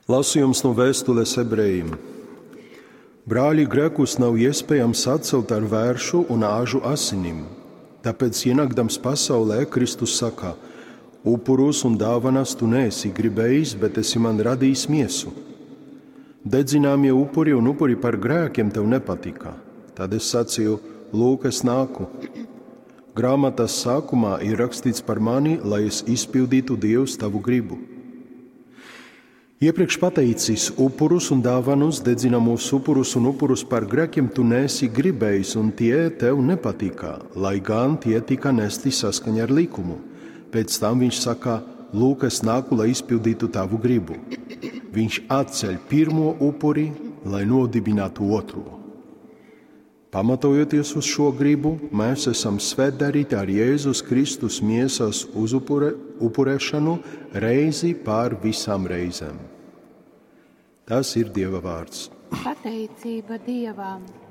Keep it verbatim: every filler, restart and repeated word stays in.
Lasījums no vēstules ebrejiem. Brāļi, grēkus nav iespējams atcelt ar vēršu un āžu asinim. Tāpēc, ienākdams pasaulē, Kristus saka: Upurus un dāvanas tu neesi gribējis, bet esi man radījis miesu. Dedzināmie upuri un upuri par grēkiem tev nepatika. Tad es sacīju: Lūk, es nāku. Grāmatas sākumā ir rakstīts par mani, lai es izpildītu Dievs tavu gribu. Iepriekš pateicis upurus un dāvanus, dedzinamos upurus un upurus par grēkiem tu neesi gribējis, un tie tev nepatika, lai gan tie tika nesti saskaņā ar likumu. Pēc tam viņš saka: Lūk, es nāku, lai izpildītu tavu gribu. Viņš atceļ pirmo upuri, lai nodibinātu otro. Pamatojoties uz šo gribu, mēs esam svētdarīti ar Jēzus Kristus miesas uzupure, upurēšanu reizi pār visām reizēm. Tas ir Dieva vārds. Pateicība Dievam!